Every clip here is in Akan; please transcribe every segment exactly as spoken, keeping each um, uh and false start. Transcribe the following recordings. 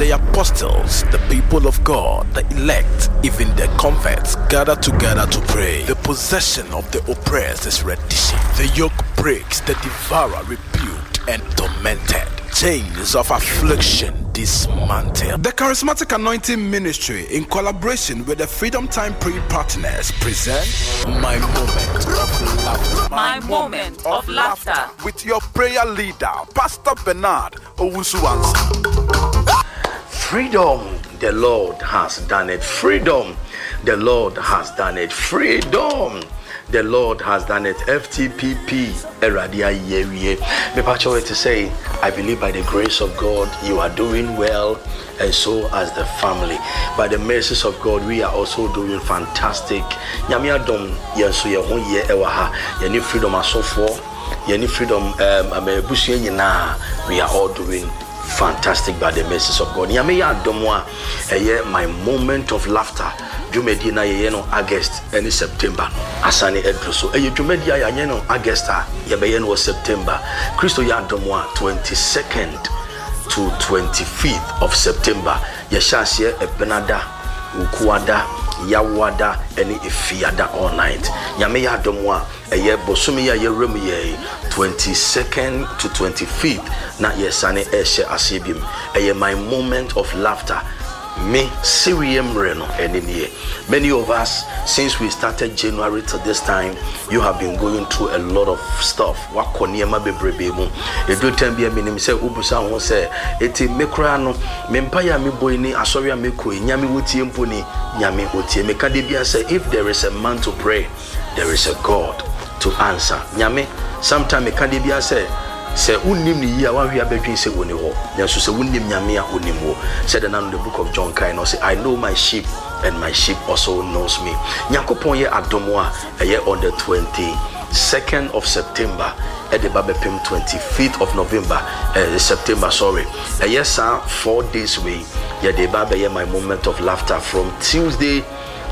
The apostles, the people of God, the elect, even the converts, gather together to pray. The possession of the oppressed is rendition. The yoke breaks, the devourer rebuked and tormented. Chains of affliction dismantled. The Charismatic Anointing Ministry, in collaboration with the Freedom Time Pre Partners, present My Moment of Laughter. My Moment of Laughter. With your prayer leader, Pastor Bernard Owusu-Ansah. Freedom, the Lord has done it. Freedom, the Lord has done it. Freedom, the Lord has done it. F T P P, Awurade ayɛ awie. Mepa kyɛw to say, I believe by the grace of God, you are doing well, and so as the family. By the mercies of God, we are also doing fantastic. Nyame adom, yɛn nso yɛn ho yɛ ɛwɔ ha. Yɛne Freedom asɔfoɔ, yɛne Freedom um, abusua nyinaa, we are all doing fantastic by the mercies of God. Nyame yɛ adom a, ɛyɛ My Moment of Laughter dwumadie na yɛyɛ no August ne September no asane aduru so. Ɛyɛ dwumadie a yɛanyɛ no August a, yɛbɛyɛ no wɔ September. Kristo yɛ adom a, twenty-second to twenty-fifth of September. Yɛhyɛ aseɛ Ɛbenada, Wukuada, Yawoada ne Efiada, all night. Nyame yɛ adom a, ɛyɛ bosome yi a yɛwura mu yɛ twenty-second to twenty-fifth na yɛsane ɛhyɛ aseɛ bi mu. Ɛyɛ My Moment of Laughter. Me sereɛ mmerɛ no ɛne nie. Many of us, since we started January to this time, you have been going through a lot of stuff. Wakɔ nneɛma bebrebe mu. Ɛduru time bi a, menim sɛ wobusa ho sɛ, ɛti me koraa no, me mpaeɛ a mebɔ yi ne asɔre a mekɔ yi, Nyame wotie mpo ni? Nyame wotie. Meka de bia sɛ, if there is a man to pray, there is a God to answer. Nyame, sometime meka de bia sɛ, sɛ wonnim ne yie a, woahwe abɛdwen sɛ wɔni hɔ, nanso sɛ wonnim Nyame a, wonim wɔ sɛdeɛ nano the Book of John kae no, sɛ, "I know my sheep and my sheep also knows me." Nyankopɔn yɛ adom a, ɛyɛ on the twenty-second of September ɛde ba bɛpem twenty-fifth of November, uh, September, sorry. Ɛyɛ saa four days wei yɛde ba bɛyɛ My Moment of Laughter from Tuesday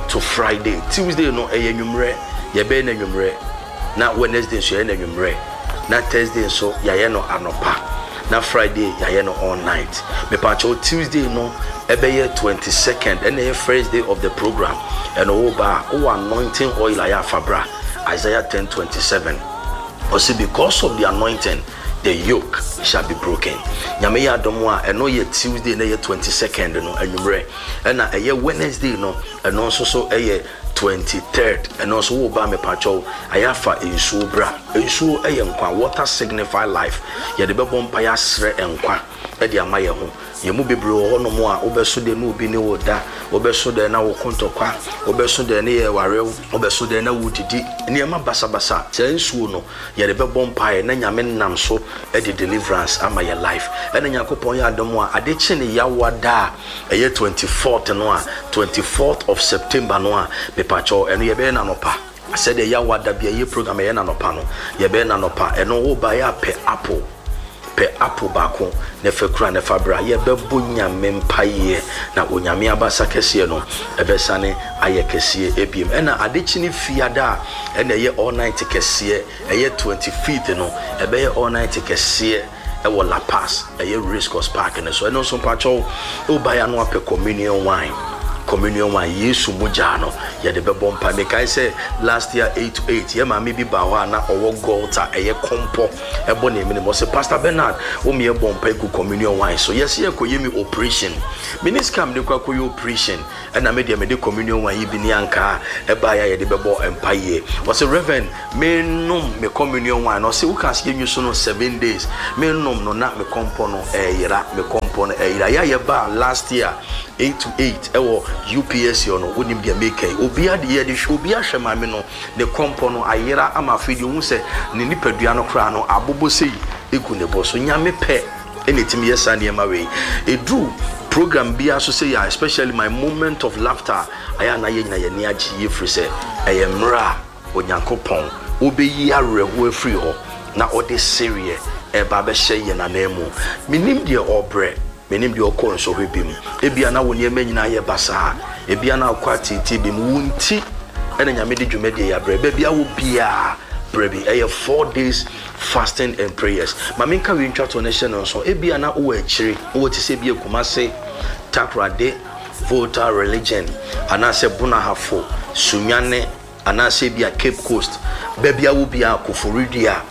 to Friday. Tuesday no ɛyɛ nwummerɛ, yɛbɛyɛ no nwummerɛ, na Wednesday nso yɛyɛ no nwummerɛ, na Thursday nso yɛayɛ no anɔpa, na Friday yɛayɛ no all night. Mepakyɛw, Tuesday no ɛbɛyɛ twenty-second, ɛna ɛyɛ first day of the program. Ɛno wo ba a, wowɔ anointing oil a, yɛ afabra. Isaiah ten twenty-seven ɔsɛ, "Because of the anointing, the yoke shall be broken." Nyame yɛ adom a, ɛno yɛ Tuesday na ɛyɛ twenty-second no anwummerɛ. Ɛna ɛyɛ Wednesday no, ɛno nso so ɛyɛ twenty-third. Ɛno nso wo ba, mepakyɛw, ayɛ afa nsuo bra. Nsuo ɛyɛ nkwa. Water signify life. Yɛde bɛbɔ mpa, yɛ asrɛ nkwa ɛde ama yɛn ho. Yɛn mu bebree wɔ hɔnom a, wobɛso deɛ na obi ne wo da, wobɛso deɛ na wo kontɔkwa, wobɛso deɛ ne yɛ warew, wobɛso deɛ na wodidi nneɛma basabasa. Saa nsuo no yɛde bɛbɔ mpaeɛ na Nyame nam so ɛde deliverance ama yɛ life. Ɛna Nyankopɔn yɛ adom a, ade kye ne yawa da a ɛyɛ twenty-fourth no a, twenty-fourth of September no a, mepakyɛw, ɛno yɛbɛyɛ nanɔpa sɛdeɛ yawa da bi a ɛyɛ program ɛyɛ nanɔpa no, yɛbɛyɛ nanɔpa. Ɛno woba yɛ apɛ apple, pɛ apple baako na fɛ kura na fa bra. Yɛbɛbɔ Nyame mpaeɛ na Onyame abasa kɛseɛ no ɛbɛsane ayɛ kɛseɛ ebiem. Ɛna adekyi ne fiada a, ɛna ɛyɛ all night kɛseɛ, ɛyɛ twenty-fifth no, ɛbɛyɛ all night kɛseɛ ɛwɔ La Paz, ɛyɛ Race Course Park no so. Ɛno nso mpakyɛw, wobaeɛ no apɛ communion wine. Communion wine, Yesu mogya no, yɛde bɛbɔ mpa. Mekae sɛ last year eight to eight, yɛ maame bi ba hɔ a na ɔwɔ goiter, ɛyɛ kɔmpɔ ɛbɔ ne anim. Ɔsɛ, "Pastor Bernard, wo mi ɛbɔ mpa egu communion wine so, yɛsɛ yɛkɔyɛ mi operation, me ne sika mede kɔ akɔyɛ operation, ɛna me deɛ mede communion wine yi bi ne ankaa ɛbaeɛ a yɛde bɛbɔ mpa yie." Ɔsɛ, "Reverend, menom me communion wine." Ɔsɛ, "Woka sɛ yɛnwi so no seven days, menom no na me kɔmpɔ no ɛyera, me kɔmpɔ no ɛyera." Yɛ a yɛbaa last year eight to eight ɛwɔ U P S no, wonim deɛ meka yi. Obiara de yɛde hwɛ, obiara hwɛ maame no, ne kɔmpɔ no ayera ama afei deɛ ohun sɛ ne nipadua no koraa no abobɔ sei egu ne bɔ so. Nyame pɛ ɛna ɛtumi yɛ saa nneɛma wei. Ɛduru program biara so sɛ yɛ, especially My Moment of Laughter, ayɛ ana yɛ nyina yɛni agye yie, firi sɛ ɛyɛ mmerɛ a Onyankopɔn wobɛyi awerɛhoɔ afiri hɔ na ɔde sereɛ ɛba bɛhyɛ yɛn anan mu. Menim deɛ ɔbrɛ, menim deɛ ɔkɔ nsɔhwɛ bi mu. Ebia na wo nneɛma nyinaa yɛ basaa, ebia na akɔ atete bi mu. Wo nti ɛna Nyame de dwumadie yɛ abrɛ. Baabi a wo biara brɛ bi, ɛyɛ four days fasting and prayers. Ma menka wei ntwa to no hyɛ no nso. Ebia na wowɔ akyire, wowɔ te sɛ bi Akumase. Takoradi, Volta Region, anaasɛ Brong Ahafo, Sunyani, anaasɛ bi a Cape Coast, baabi a wo bia, Koforidua,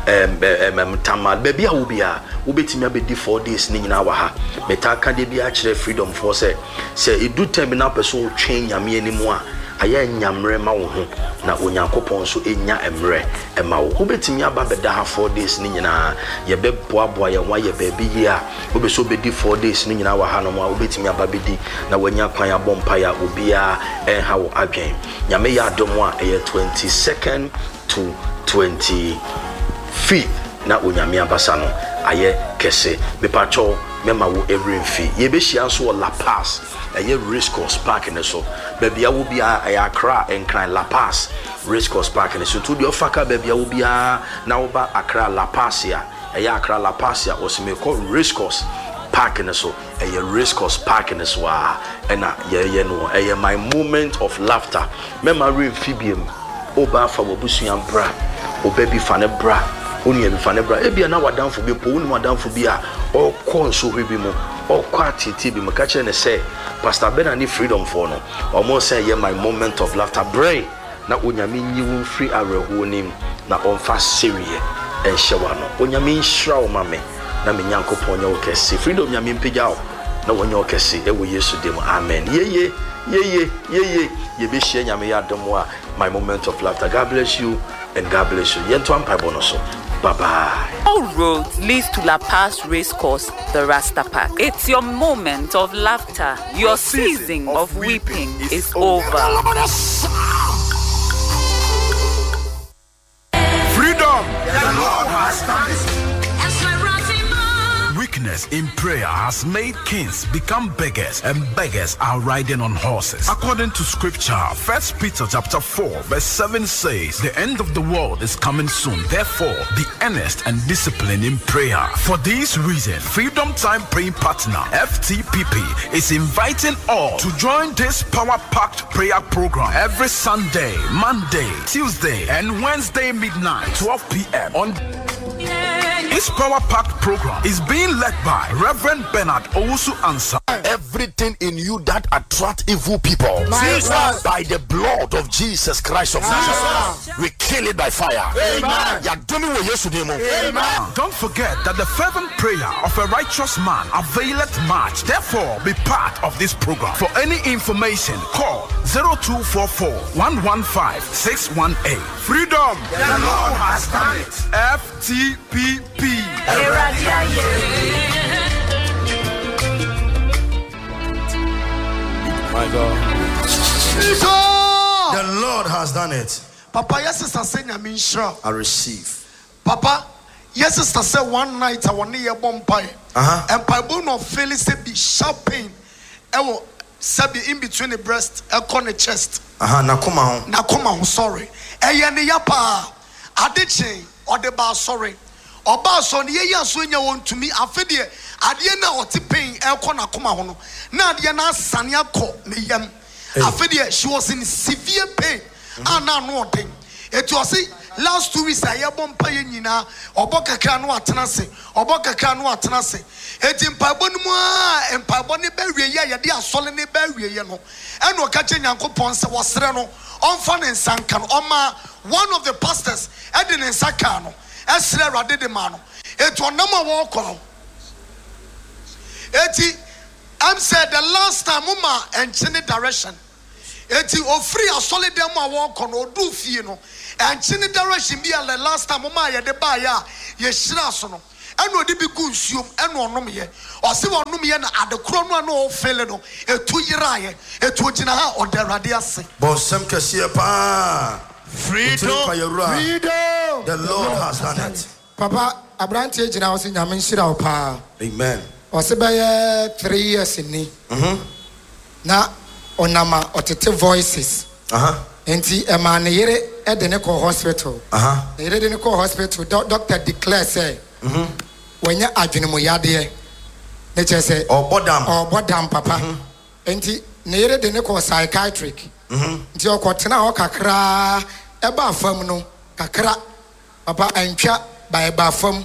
um, um, um, Tamale, baabi a wo bia wobɛtumi abɛdi four days ne nyinaa wɔ ha. Metaa ka deɛ bi akyerɛ Freedom foɔ sɛ sɛ ɛdu time bi na wopɛ sɛ wotwɛn Nyame anim a, ayɛ nyammerɛ ma wo ho na Onyankopɔn nso ɛnya mmerɛ ɛma wo. Wobɛtumi aba bɛda ha four days ne nyinaa. Yɛbɛboaboa yɛn ho ayɛ baabi yie a wobɛ sɛ wobɛdi four days ne nyinaa wɔ ha nom a, wobɛtumi aba bɛdi na wanya kwan abɔ mpaeɛ a obiara ɛnha wo adwen. Nyame yɛ adom a, ɛyɛ twenty-second to twenty-fifth na Onyame abasa no ayɛ kɛse. Mepakyɛw, mɛma wo ɛwerɛ mfi. Yɛbɛhyia nso wɔ Lapaz, ɛyɛ Race Course Park ne so. Baabi a wo biara, ɛyɛ Accra, Nkran, Lapaz Race Course Park ne so. Nti wodeɛ ɔfa ka baabi a wo biara na woba Accra Lapaz a, ɛyɛ Accra Lapaz a, wɔsɛ mekɔ Race Course Park ne so. Ɛyɛ Race Course Park ne so a ɛna yɛyɛ no. Ɛyɛ My Moment of Laughter. Mɛma werɛ mfi biem. Woba afa w'abusua bra, ɔba bi fa ne bra, onua bi fa ne bra, ebia na w'adamfo bi mpo, wonim adamfo bi a ɔkɔ nsohwɛ bi mu, ɔkɔ ateetee bi mu, ka kyerɛ ne sɛ Pastor Bernard ne Freedom foɔ no, ɔmo sɛ yɛ My Moment of Laughter brɛ na Onyame nyi wo mfiri awerɛhoɔ nim na ɔmfa sereɛ ɛnhyɛ w'ano. Onyame nhyira wo ma me na me Nyankopɔn nyɛ wo kɛse. Freedom, Nyame mpagya wo na wɔnyɛ wo kɛse ɛwɔ Yesu dim, amen. Yeye, yeye, yeye. Yɛbɛhyia Nyame yɛ adom a, My Moment of Laughter. God bless you and God bless you. Yɛnto ampaebɔ no so. Bye bye. All roads leads to Lapaz Race Course, the Rasta Park. It's your moment of laughter. Your season of weeping is over. Freedom! The Lord has done it. Weakness in prayer has made kings become beggars, and beggars are riding on horses. According to scripture, First Peter chapter four, verse seven says, "The end of the world is coming soon. Therefore, be earnest and disciplined in prayer." For this reason, Freedom Time Praying Partner F T P P is inviting all to join this power-packed prayer program every Sunday, Monday, Tuesday, and Wednesday midnight, twelve p m on. This power packed program is being led by Reverend Bernard Owusu Ansa. Everything in you that attract evil people, Jesus. By the blood of Jesus Christ of Nazareth, we kill it by fire. Amen. Yɛadome wɔ Yesu din mu. Amen. Don't forget that the fervent prayer of a righteous man availeth much. Therefore, be part of this program. For any information, call zero two four four one one five six one eight. Freedom! The Lord has done it. F T P P. My God. Jesus. The Lord has done it. Papa, yes, sister sɛ Nyame nhyira wo. I receive. Papa, yes, sister sɛ one night a wɔne yɛ bɔ mpaeɛ. Uh-huh. Mpaebɔ na ɔfeel sɛ bi sharp pain ɛwɔ sɛbi in between the breast ɛkɔ ne chest. Aha, nakoma ho. N'akoma ho, sorry. Ɛyɛ ne ya paa. Ade kyen ɔde ba asɔre. Ɔba asɔre no, yɛyi aso nya wɔn ntumi. Afe deɛ, adeɛ no a ɔte pain ɛkɔ n'akoma ho no, na adeɛ no asane akɔ ne yam. Afe deɛ, she was in severe pain a na ano ɔden. Eti ɔsi last two weeks a yɛbɔ mpa yɛ nyinaa, ɔbɔ kakra no atena ase, ɔbɔ kakra no atena ase. Eti mpaebɔ no mu a, mpaebɔ ne bɛ wie yɛ a, yɛde asɔre ne bɛ wie yɛ no, ɛna ɔka kyerɛ Nyankopɔn sɛ wɔsrɛ no ɔmfa ne nsa nka no. Ɔma one of the pastors ɛde ne nsa kaa no, ɛsrɛ Awurade de maa no. Eti ɔnam a wɔrekɔ no, eti ɛm sɛ the last time mo ma ɛnkyene direction, eti ofiri asɔre dan mu a wɔrekɔ no, ɔduu fie no, ɛnkyene direction bi a the last time mo ma yɛde baayɛ a yɛhyira so no, ɛna ɔde bi gu nsuom ɛna ɔnom yɛ. Ɔsi wɔnom yɛ na adekorɔ no a na ɔfeel no etu yeraayɛ. Etu ogyina ha, ɔda Awurade ase. Bɔnsɛm kɛseɛ paa. Freedom. Freedom. The Lord has done it. Papa, aberanteɛ gyina hɔ sɛ Nyame nhyira wo paa. Amen. Ɔse bɛyɛ three years ni na ɔnam a ɔtete voices. Uh-huh. Nti ɛmaa ne yere de ne kɔ hospital. Uh-huh. Ne yere de ne kɔ hospital, doc- doctor declare sɛ wɔnyɛ adwenemuyadeɛ ne kyerɛ sɛ Ɔbɔ dam. Ɔbɔ dam, papa. Nti ne yere de ne kɔ psychiatric. Nti ɔkɔtena hɔ kakraa, ɛbaa fam no kakra, papa, antwa ba, ɛbaa fam,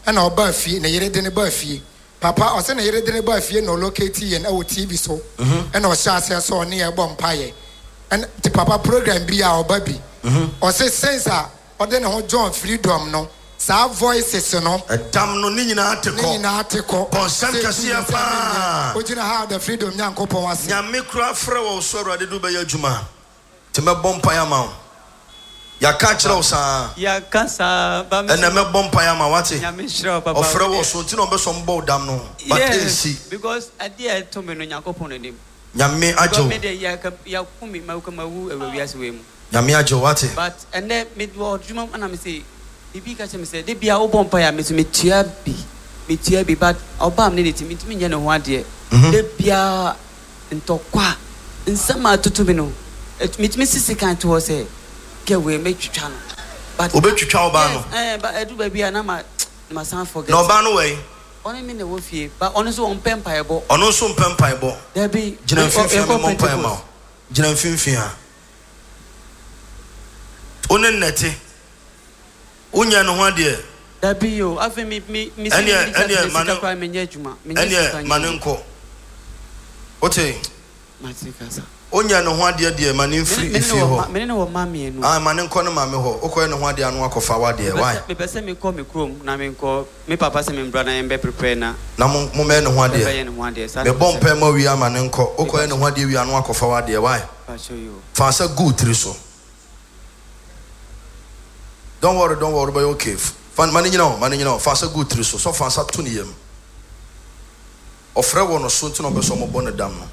ɛna ɔbaa fie. Ne yere de ne baa fie. Papa ɔsɛ ne yere de ne ba fie na ɔlocate yɛn ɛwɔ T V so, ɛna ɔhyɛ aseɛ sɛ ɔne yɛ bɔ mpaeɛ. Ɛna nti papa, program bi a ɔba bi, ɔsɛ since a ɔde ne ho join Freedom no, saa voices no ɛdam no ne nyinaa te ne kɔ. Nyinaa te kɔ. Bɔnsɛm Sɛ kɛseɛ etu ne paa. Ogyina ha da Freedom Nyankopɔn ase. Nyame kora frɛ wɔ wo so, Awurade de wobɛyɛ adwuma, nti mɛbɔ mpaeɛ ama wo. Yɛaka kyerɛ wo saa. Yɛaka saa ba me. Ɛnɛ mɛbɔ mpaeɛ ama wate. Nyame nhyira wo, papa. Ɔfrɛ wɔ so nti na ɔbɛ sɛ ɔmbɔ wo dam no, but Yes, ɛnsi. Because adeɛ a ɛto me no, Nyankopɔn n'anim. Nyame agye Because wo. me de yɛka yɛako me ma ma wu ɛwɔ wiase wei mu. Nyame agye wo, wate. But ɛnɛ me wɔ adwuma mu, ɛna me sɛ biribi ka kyerɛ me sɛ de bia wobɔ mpaeɛ a, me so metua bi metua bi, but ɔbaa me ne ne ti mentumi nyɛ ne ho adeɛ. Mhm. De bia ntɔkwa nsɛm a atoto mi no, ɛt- metumi sisi kan to hɔ sɛ kɛ wei mɛtwitwa no, but Wobɛtwitwa ɔbaa no? Yes, ɛɛ, but ɛdu baabi a na ma na ma san forget. Na ɔbaa no wɔ Ɔne me na ɛwɔ fie, but ɔno nso ɔmpɛ mpaebɔ. Ɔno nso mpɛ mpaebɔ? Dabi. Gyina ɔ- ɔ- mfimfini a yɛkɔ memmɔ mpae ma Pentecost. wo. Gyina mfimfini a wo ne nnɛte wonyɛ ne ho adeɛ. Dabi o, afei mi mi mi sɛ Ɛneɛ- mi ɛneɛ ma sika ne- koraa menyɛ adwuma, menyɛ sika ɛneɛ ma ne nyɛ. nkɔ, wote? Mate kasa. Wonyɛ ne ho adeɛ deɛ, ma ne mfiri Me ne efie wɔ ma hɔ. me ne wɔ mma mmienu. Ah, ma ne nkɔ ne maame hɔ. Wokɔyɛ ne ho adeɛ ano akɔfa w'adeɛ. Mepɛ Why? sɛ- mepɛ sɛ mekɔ me kurom na menkɔ me papa sɛ membra na yɛmbɛ prepare na Na mo mommɛyɛ ne ho adeɛ. Yɛbɛyɛ ne ho adeɛ saa na mebɔ mepɛ sɛ- mpae ma wie ama ne nkɔ. Wokɔyɛ ne ho adeɛ wie ano akɔfa w'adeɛ. Why? Pakyɛ yi o. Fa nsa gu wo tiri so. Don't worry, don't worry, bɛyɛ okay. Fa ma ne nyina hɔ, ma ne nyina hɔ. Fa nsa gu wo tiri so sɛ fa nsa to ne yam. Ɔfrɛ wɔ no so nti na ɔbɛ sɛ ɔmɔbɔ ne dam no.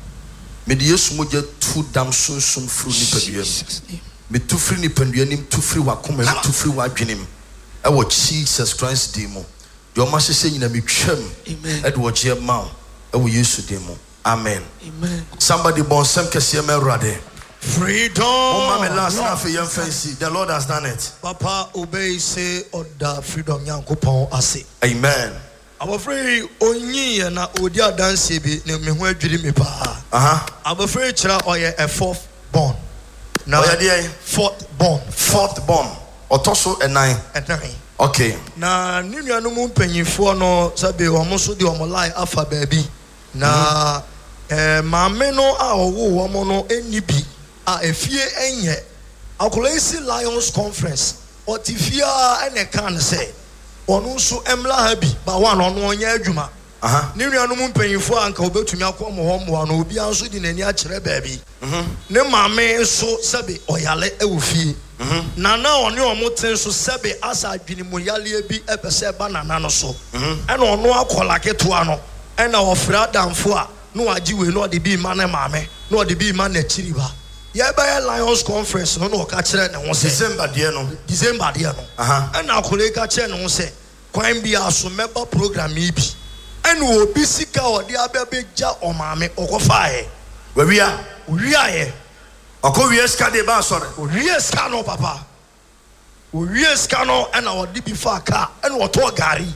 Mede Yesu mogya tu dam sunsum firi nipadua mu. Metu firi nipadua nim, tu firi w'akoma mu, tu firi w'adwene mu ɛwɔ Jesus Christ din mu. Deɛ ɔma hyehyɛ nyina, metwam. Amen. Ɛde wɔgyeɛ ma wo ɛwɔ Yesu din mu, amen. Amen. Somebody bɔ nsɛm kɛseɛ ma Awurade. Freedom. Momma me last na afei yɛmfa nsi. The Lord has done it. Papa, obey say ɔda Freedom Nyankopɔn ase. Amen. Abɔfra yi onyiiɛ na ɔdi adanseɛ bi ne me ho adwiri me paa. Aha. Abɔfra yi kyerɛ ɔyɛ a fourth born. Na Ɔyɛ deɛn? Fourth born. Fourth born, ɔtɔ so ɛnan. Ɛnan. Okay. Na ne nuanom mpanyinfoɔ no, sɛbi, wɔn nso de wɔn line afa baabi na ɛɛ maame no a ɔwɔ wɔn no ɛnni bi a efie ɛnyɛ. Akwadaa yi si Lions Conference, ɔte fie a, ɛna ɛka no sɛ ɔno nso ɛmla ha bi ba wa na ɔno ɔnyɛ adwuma. Aha. Ne nuanom mpanyinfoɔ a anka obetumi akɔ mo hɔ mmoa no, obiara nso de n'ani akyerɛ baabi. Ne maame nso, sɛbi, ɔyale ɛwɔ fie. Nana a ɔne ɔmo te nso, sɛbi, asa adwenemuyaleɛ bi ɛpɛ sɛ ɛba nana no so, ɛna ɔno akɔla ketewa no, ɛna ɔfrɛ adamfo a na wagye wei na ɔde bi ma ne maame na ɔde bi ma n'akyiri ba. Yɛbɛyɛ Lions Conference no na ɔka kyerɛ ne ho sɛ December deɛ no. December deɛ no. Aha. Ɛna akɔla yi ka kyerɛ ne ho sɛ kwan bi aso mɛba program yi bi, ɛna obi sika a ɔde abɛbɛgya ɔmaame ɔkɔfaeɛ. Wawia. Owiaeɛ. Ɔkɔ wie sika de ba asɔre. Owie sika no, papa, owie sika no, ɛna ɔde bi fa kaa, ɛna ɔtɔɔ gari.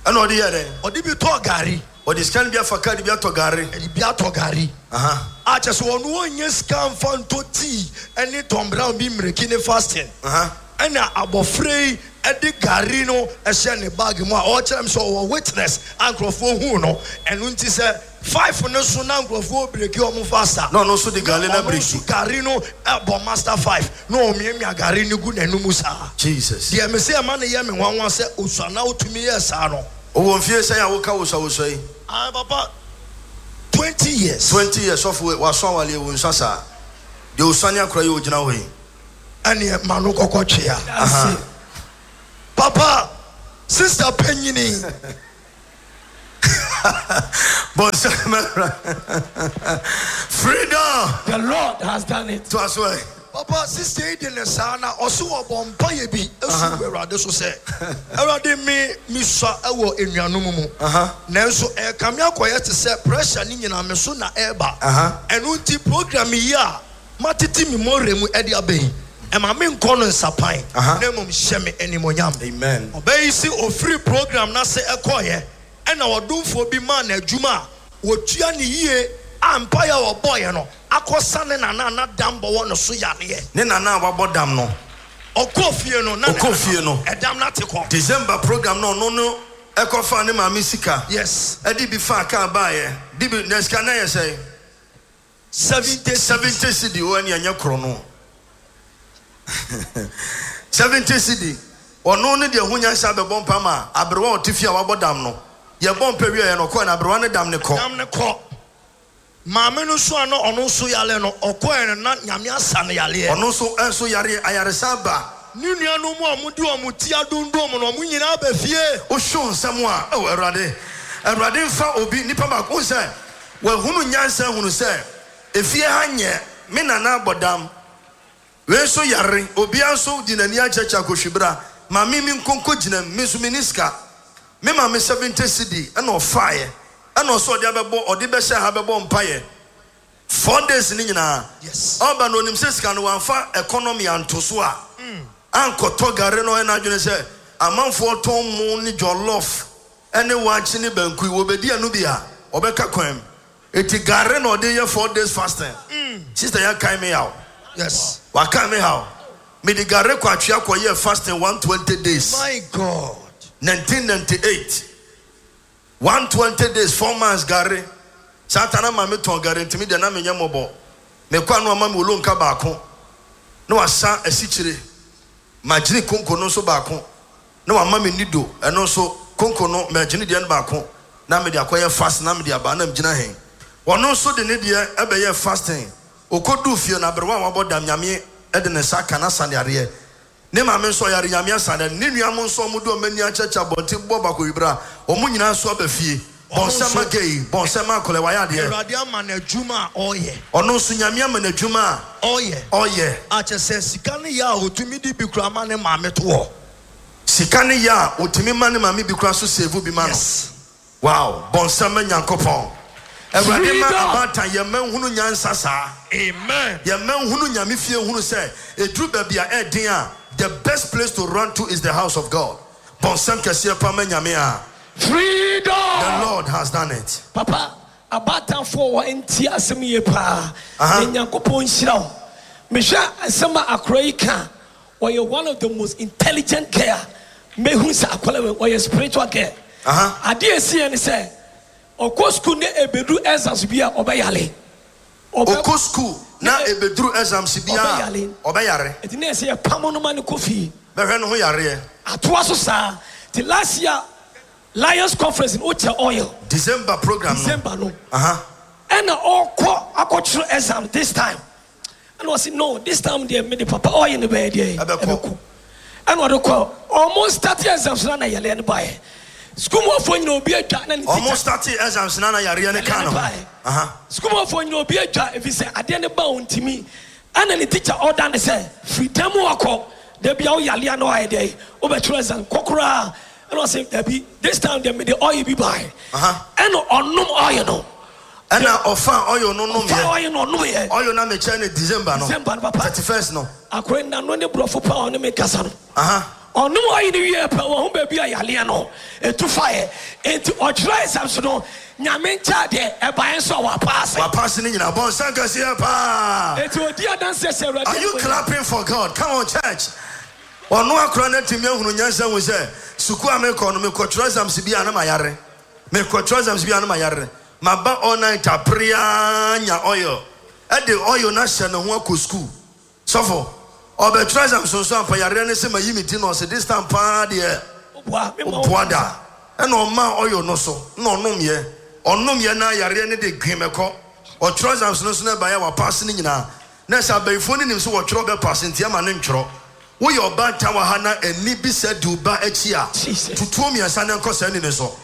Ɛna ɔde yɛ dɛn? Ɔde bi tɔɔ gari. Ɔde sika no bi afa kaa de bi atɔ gari. Ɛde bi atɔ gari. Aha. A kyɛ sɛ ɔno ɔnyɛ sika nfa ntɔ tii ɛne Tom Brown bi mmiriki ne fasting. Aha. Ɛna abɔfra yi ɛde gari no ɛhyɛ ne bag mu a ɔkyerɛ m sɛ ɔwɔ witness a nkurɔfoɔ hu no. Ɛno nti sɛ five no so na nkurɔfoɔ break ɔmo faster. Na ɔno nso de gari na Ɔno break. nso gari no ɛbɔ master five na ɔmiamia gari no gu n'anum saa. Jesus. Deɛ me sɛ ɛma ne yɛ me nwanwa sɛ osua na otumi yɛ saa no. Ɔwɔ mfie sɛn a woka wosawosɔ yi? Ah, papa, twenty years. Twenty years. Sɔfo, waso awaleɛ wɔ nsa saa deɛ osane akora yi ogyina hɔ yi. Ɛneɛ ma no kɔkɔ twea. Aha. Papa, sister panyini. Bɔnsɛm, freedom. The Lord has done it. To aso ɛ. Papa, sister yi de ne saa na ɔso wɔbɔ mpayɛ bi esu wɔ Awurade so sɛ, Awurade, mi mi sua ɛwɔ enuanom mu, nanso ɛkame akɔyɛ te sɛ pressure ne nyinaa mi so na ɛɛba. Aha. Ɛno nti program yi a matete mi mɔre mu ɛde aba yi, ɛma mi nkɔ no nsapan Aha. na mmom hyɛ mi animonyam. Amen. Ɔbɛyi si ofiri program n'ase ɛkɔɔyɛ, ɛna ɔdomfoɔ bi maa n'adwuma a wɔtua ne yie a mpaeɛ a wɔbɔɔyɛ no akɔsa ne nana na dam bɔ wɔ ne so yareɛ. Ne nana a wabɔ dam no. Ɔkɔɔ fie no na ne Ɔkɔɔ fie no. ɛdam no ate kɔ. December program no, ɔno no ɛkɔfa ne maame sika. Yes. Ɛde bi fa kaa baayɛ de bi na sika na yɛ sɛ seventy seventy cedi wɔ ɛne ɛnyɛ korɔ no seventy cedi ɔno ne deɛ ho nyansa bɛbɔ mpa ma aberewa a ɔte fie a wabɔ dam no yɛbɔ mpa wie yɛ no ɔkɔɛ na aberewa ne dam ne kɔ. Dam ne kɔ. Maame no so a na ɔno nso yale no ɔkɔɛ no na Nyame asa no yaleɛ. Ɔno nso nso yare ayaresa ba. Ne nuanom a ɔmo de ɔmo ti adondom no ɔmo nyinaa bɛ fie. Wohwɛ nsɛm a ɛwɔ Awurade Awurade nfa obi nipa baako sɛ wahunu nyansa hunu sɛ efie ha nyɛ me nana abɔ dam wei nso yare obia nso di n'ani akyɛkyɛ akɔhwibra maame mi nkonko gyina mu me nso me ni sika me maame seventy cedi ɛna ɔfaeɛ ɛna ɔsɔ ɔde abɛbɔ ɔde bɛhyɛ ha bɛbɔ mpaeɛ four days ne nyinaa. Yes. Ɔba no onim sɛ sika no wamfa economy anto so a ankɔtɔ gare no ɛna adwene sɛ amanfoɔ tɔn mu ne jollof ɛne waakye ne banku yi wɔbɛdi ɛno bi a ɔbɛka kwan mu eti gare na ɔde yɛ four days fasting. Sister yɛ kan me yaw. Yes. Waka me haw. Mede gare kɔ atwea kɔ yɛ fasting one twenty days. My God. nineteen ninety-eight one twenty days four months gare. Satan ma me tɔn gare ntimi de na me nyɛ mɔbɔ. Me kɔ anu ama me olonka baako. Na wasa asikyire. Magyini konko no nso baako. Na wama me nido ɛno nso konko no magyini deɛ no baako. Na me de akɔyɛ fast na me de aba na me gyina hen. Ɔno nso de ne deɛ ɛbɛyɛ fasting. Okodu fie na aberewa a wabɔ dam Nyame ɛde ne nsa ka na sane areɛ. Ne maame nso ɔyare Nyame asane. Ne nua mo nso ɔmo de ɔmo ani akyɛkyɛ abɔnten bɔ baako wibra. Ɔmo nyinaa nso aba fie. Bɔnsɛm agei, bɔnsɛm akɔlɛ wayɛ adeɛ. Awurade ama n'adwuma a ɔyɛ. Ɔno nso Nyame ama n'adwuma a ɔyɛ. Ɔyɛ. Akyɛ sɛ sika ne yɛ a otumi di bi kura ma ne maame to hɔ. Sika ne yɛ a otumi ma ne maame bi kura so save bi ma no. Yes. Wow, bɔnsɛm Nyankopɔn. Awurade ma abatan yɛ mma nhunu nyansa saa. Amen. Yɛ mma nhunu Nyame fie hunu sɛ eduru baabi a ɛden a the best place to run to is the house of God. Bɔnsɛm kɛseɛ pa ma Nyame a. Freedom. The Lord has done it. Papa, abatanfo wa nti asem ye pa. Nyankopɔn nhyira wo. Mehwɛ asem a akora yi ka. Wɔyɛ one of the most intelligent girl. Mehu sɛ akora wɔ yɛ spiritual girl. Aha. Ade esi ye ne sɛ ɔkɔ school ne ebedu exams bi a ɔbɛyale. Ɔkɔ school na ebeduru exams bi a ɔbɛyale. Ɔbɛyare. Eti ne sɛ yɛ pam no ma ne kɔ fie. Bɛhwɛ no ho yareɛ. Atoa so saa. Ti last year Lions Conference in Ocha Oil. December program no. December no. Uh-huh. And all call akɔtwerɛ exam this time. And I said no, this time they made the papa oil in the bed there. Ɛbɛkɔ. And what they call almost starting exams na na yɛlɛ ne bae. School mo fo nyina obi atwa na ne teacher. Almost starting exams na na yare ne ka no. Uh-huh. School mo fo nyina obi atwa if say ade ne ba ontimi. And the teacher order ne say free time akɔ. They be all yale na oil there. Obetwerɛ exam kokora. And I say Debbie, this time they made the oil be by. Uh-huh. And on no oil no. And now offer oil no no. Offer oil no no ye. Oil na me chair in December no. December no papa. thirty-first no. Akwe na no ne brofo pa on me kasa no. Uh-huh. On no oil ni wie pa wo ho ba bi ayale no. E tu fire. Enti odra exams no. Nyame ncha de e ba enso wa pass. Wa pass ni nyina bon san kase pa. Enti odi adanse se Awurade. Are you clapping for God? Come on church. Ono akora na timi ahunu nyansa hu sɛ suku a mekɔ no mekɔtwerɛ exams bi a na mayare. Mekɔtwerɛ exams bi a na mayare. Maba all night aprea nya oil. E de oil na hyɛ ne ho akɔ school. Sɔfo, ɔbɛtwerɛ exams nso ampa yare ne sɛ mayi me ti no ɔsɛ this time paa deɛ. Oboa, me ma Oboa da. Ɛna ɔma oil no so na ɔnom yɛ. Ɔnom yɛ na yare ne de gwemekɔ. Ɔtwerɛ exams no so na ɛbaeɛ wa pass ne nyinaa. Na sɛ abayifo ne nim sɛ wɔtwerɛ bɛ pass nti ama ne ntwerɛ. Wo yɛ ɔba nta wɔ ha na ani bi sɛ de wo ba akyi a, Jesus. tutuo mmiɛnsa na nkɔ saa ni ne so.